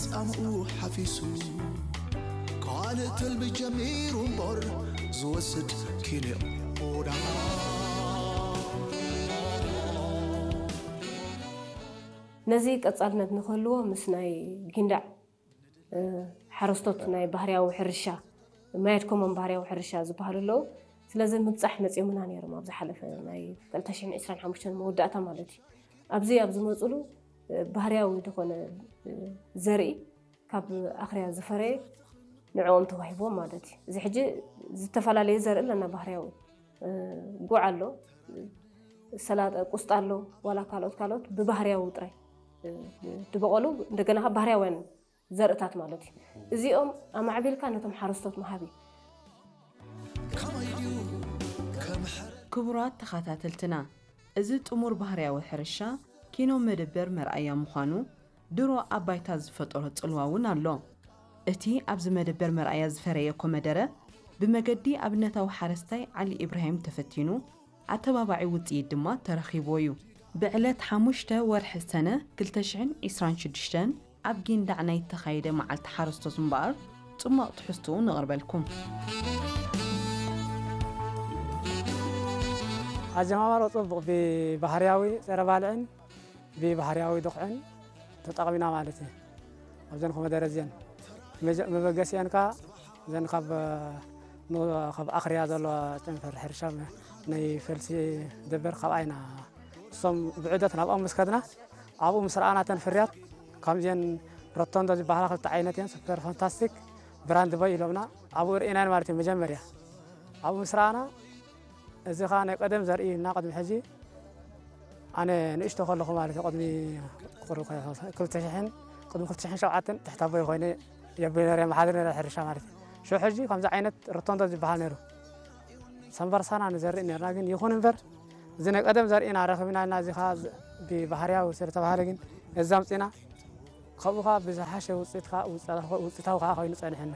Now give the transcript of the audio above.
ጻምኡ ሓፊሱ ካልእ ትልሚ ጀሚሩ እምበር ዝወስድ ኪንዮ ዳኣ። ነዚ ቀጻልነት ንክህልዎ ምስ ናይ ጊንዳዕ ሓረስቶት ናይ ባህርያዊ ሕርሻ ማየት ኮሞን ባህርያዊ ሕርሻ ዝበሃሉ ኣለዉ። ስለዚ ምብጻሕ መጺኦምና ነይሮም ኣብ ዝሓለፈ ናይ ክልተ ሽሕን ዕስራን ሓሙሽተን መወዳእታ ማለት እዩ። ኣብዚ ኣብ ዝመፅሉ ባህርያዊ ዝኾነ ዘርኢ ካብ ኣኽርያ ዝፈረየ ንዕኦም ተዋሂቦም ማለት እዩ። እዚ ሕጂ ዝተፈላለየ ዘርኢ ኣለና ባህርያዊ ጉዕ ኣሎ፣ ሰላጣ፣ ቁስጣ ኣሎ፣ ዋላ ካልኦት ካልኦት ብባህርያዊ ጥራይ ዝበቐሉ እንደገና ካብ ባህርያውያን ዘርእታት ማለት እዩ። እዚኦም ኣማዕቢልካ ነቶም ሓረስቶት ምሃብ እዩ። ክቡራት ተኸታተልትና፣ እዚ ጥሙር ባህርያዊ ሕርሻ ኪኖ መደበር መርኣያ ምዃኑ ድሮ ኣብ ባይታ ዝፈጠሮ ጽልዋ እውን ኣሎ። እቲ ኣብዚ መደበር መርኣያ ዝፈረየ ኮመደረ ብመገዲ ኣብነታዊ ሓረስታይ ዓሊ ኢብራሂም ተፈቲኑ ኣተባባዒ ውጽኢት ድማ ተረኺብዎ እዩ። ብዕለት ሓሙሽተ ወርሒ ሰነ ክልተ ሽሕን ዕስራን ሽዱሽተን ኣብ ጊንዳዕ ናይ እተኻየደ መዓልቲ ሓረስቶት እምበኣር ጽሟቕ ትሕዝትኡ ነቕርበልኩም። ኣጀማማሮ ጽቡቕ ብባህርያዊ ጸረ ባልዕን ብባህርያዊ ድኹዕን ተጠቒምና ማለት እዩ። ኣብዘን ኮመደረ እዚአን መበገሲአን ከኣ እዘን ካብ ካብ ኣኽርያ ዘለዋ ጨንፈር ሕርሻ ናይ ፈልሲ ደበር ካብኣ ኢና እሶም ብዑደት ናብኦም ምስ ከድና ኣብኡ ምስ ረኣና እተን ፍርያት ከምዚአን ሮቶንዶ ዝበሃላ ክልተ ዓይነት እየን ሱፐር ፋንታስቲክ ብራንድ ቦይ ኢሎምና ኣብኡ ርኢናን ማለት እዩ መጀመርያ ኣብኡ ምስ ረኣና እዚ ኸዓ ናይ ቀደም ዘርኢ እና ቅድሚ ሕጂ ኣነ ንእሽቶ ከለኹ ማለት እዩ ቅድሚ ክልተ ሽሕን ቅድሚ ክልተ ሽሕን ሸውዓተን ትሕቲ ኣቦይ ኮይነ የብይ ነረ መሓድር ነረ ሕርሻ ማለት እዩ ሽዑ ሕጂ ከምዚ ዓይነት ሮቶንዶ ዝበሃል ነይሩ ሰንበርሳና ንዘርኢ ነርና ግን ይኹን እምበር እዚ ናይ ቀደም ዘርእና ረኺብና እና እዚ ኸዓ ብባህርያዊ ስለ ተባሃለ ግን እዚ ኣምፂና ካብኡ ኸዓ ብዝሓሸ ውፅኢት ኸዓ ውፅኢታዊ ኸዓ ኮይኑ ፀኒሕና